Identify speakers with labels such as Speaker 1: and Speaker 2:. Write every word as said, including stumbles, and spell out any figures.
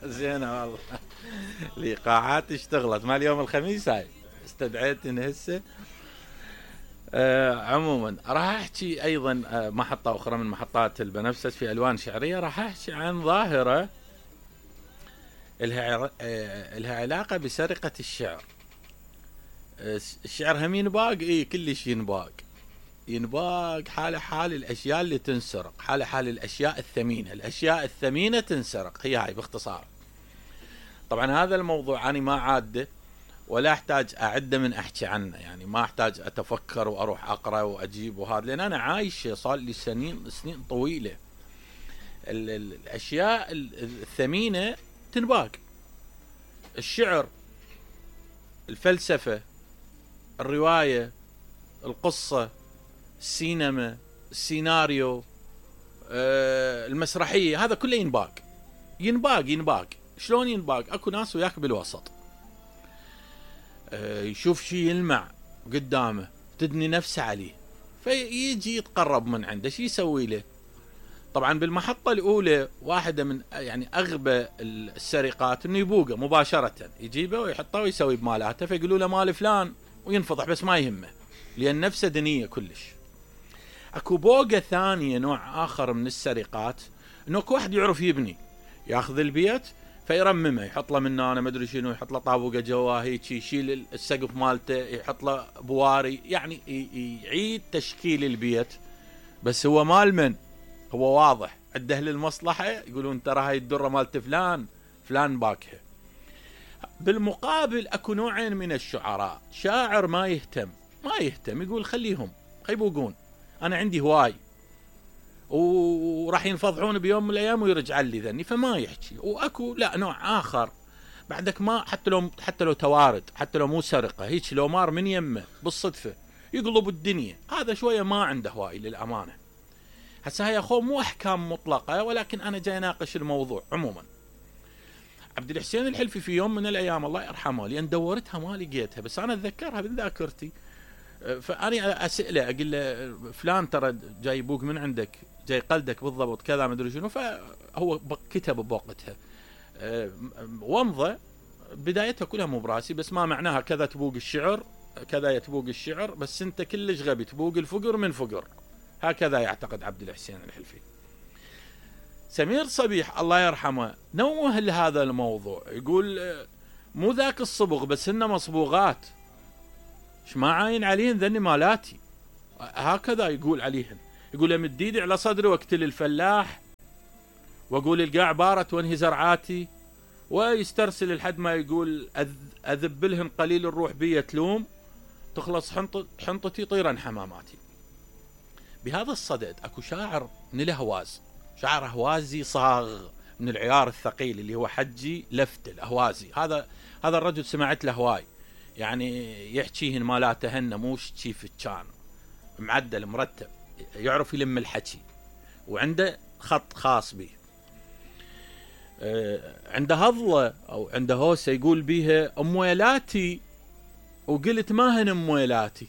Speaker 1: زين والله. الايقاعات اشتغلت مال يوم الخميس هاي استدعيتني هسه. آه عموما راح احكي ايضا آه محطة اخرى من محطات البنفسج في الوان شعرية. راح احكي عن ظاهرة الها آه الها علاقة بسرقة الشعر. آه الشعر هم ينباق، اي كلش ينباق ينباق حال حال الاشياء اللي تنسرق، حال حال الاشياء الثمينة. الاشياء الثمينة تنسرق، هي هاي باختصار. طبعا هذا الموضوع أنا ما عاده ولا احتاج اعده من احكي عنه، يعني ما احتاج اتفكر واروح اقرا واجيب وهذا، لان انا عايش صار لي سنين سنين طويله. ال ال الاشياء الثمينه تنباق، الشعر، الفلسفه، الروايه، القصه، السينما، السيناريو، آه المسرحيه، هذا كله ينباق ينباق ينباق. شلون ينباق؟ اكو ناس وياك بالوسط يشوف شيء يلمع قدامه تدني نفسه عليه، فيجي يتقرب من عنده. شي يسوي له؟ طبعا بالمحطة الأولى واحدة من يعني أغبى السرقات إنه يبوقه مباشرة، يجيبه ويحطه ويسوي بمالاته، فيقولوا له مال فلان وينفضح، بس ما يهمه لأن نفسه دنية كلش. أكو بوقة ثانية، نوع آخر من السرقات، إنه أكو واحد يعرف يبني، ياخذ البيت فيرممه، يحط له من انا ما ادري شنو، يحط له طابوقه جواه هيك، يشيل السقف مالته، يحط له بواري، يعني يعيد تشكيل البيت. بس هو مال من؟ هو واضح عنده للمصلحه، يقولون ترى هاي الدره مالت فلان فلان باكها. بالمقابل اكو نوعين من الشعراء، شاعر ما يهتم ما يهتم يقول خليهم يبوقون، انا عندي هواي وراح ينفضحون بيوم من الايام ويرجع لي ذني، فما يحكي. واكو لا نوع اخر بعدك، ما حتى لو حتى لو توارد، حتى لو مو سرقه، هيك لو مار من يمه بالصدفه يقلب الدنيا، هذا شويه ما عنده هواي للامانه. هسه هاي اخو مو احكام مطلقه، ولكن انا جاي اناقش الموضوع. عموما عبد الحسين الحلفي في يوم من الايام الله يرحمه، لان دورتها ما لقيتها بس انا اتذكرها من ذاكرتي، فاني اساله اقول له فلان ترى جاي يبوق من عندك، جاي قلدك بالضبط كذا ما ادري شنو. فهو كتب بوقتها ومضه بدايتها كلها مو براسي، بس ما معناها كذا تبوق الشعر كذا يتبوق الشعر، بس انت كلش غبي تبوق الفقر من فقر. هكذا يعتقد عبد الحسين الحلفي. سمير صبيح الله يرحمه نوه لهذا الموضوع، يقول مو ذاك الصبغ بس هن مصبوغات، ايش ما عاين عليهن ذني مالاتي. هكذا يقول عليهن، يقول امد ايدي على صدري واقتل الفلاح واقول القاع بارت وانهي زرعاتي، ويسترسل لحد ما يقول اذب لهم قليل الروح بي تلوم، تخلص حنطتي طيرا حماماتي. بهذا الصدد اكو شاعر من الاهواز، شاعر اهوازي صاغ من العيار الثقيل اللي هو حجي لفت الاهوازي. هذا هذا الرجل سمعت له هواي، يعني يحكيهن مالاته هن مو شيف كان معدل مرتب، يعرف يلم الحكي وعنده خط خاص به. آه عنده هضله او عنده هوسه يقول بيها امويلاتي وقلت ما هن امويلاتي،